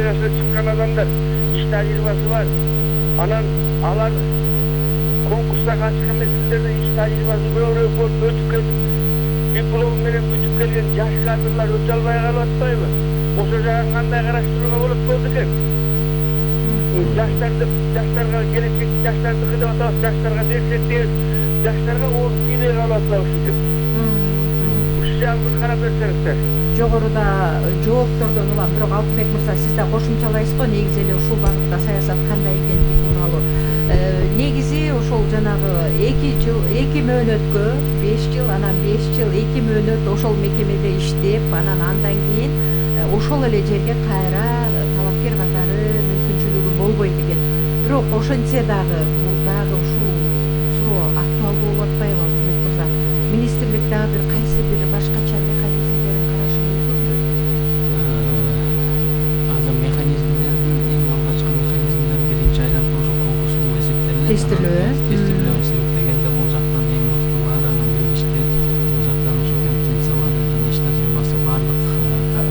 жашап чыккан адамдар, иш тажрыйбасы бар. Анан алар конкурска катышкан мезгилдерде иш тажрыйбасын көбүрөөк болуп өтүп кетип, диплом менен бүтүп келген жаш кадрлар өтө албай калып атпайбы? Ошо жагын кандай караштырууга болот болду экен? Жаштарга келечек жаштардыкы деп атабыз, жаштарга берсек дейбиз, жаштарга орун тийбей калып атпайбы ушинтип? Ушул жагын бир карап берсеңиздер. Жогоруда жооптордон улам, бирок Алтынбек мырза, сиз да кошумчалайсыз го, негизи эле ушул багытта саясат кандай экендиги тууралуу. Негизи ошол жанагы 2 мөөнөткө 5 жыл, анан 5 жыл 2 мөөнөт ошол мекемеде иштеп, анан андан кийин ошол эле жерге кайра талапкер катары мүмкүнчүлүгү болбойт экен. Бирок ошентсе дагы бул дагы ушул суроо актуалдуу болуп атпайбы Алтынбек мырза? Министрлик дагы бир кайсы бир башкача механизмдерин карашы мүмкүнбү? Азыр механизмдердин эң алгачкы механизмдердин биринчи айланма ошо конкурс болуп эсептелинет. Тестилөө. Тестилөө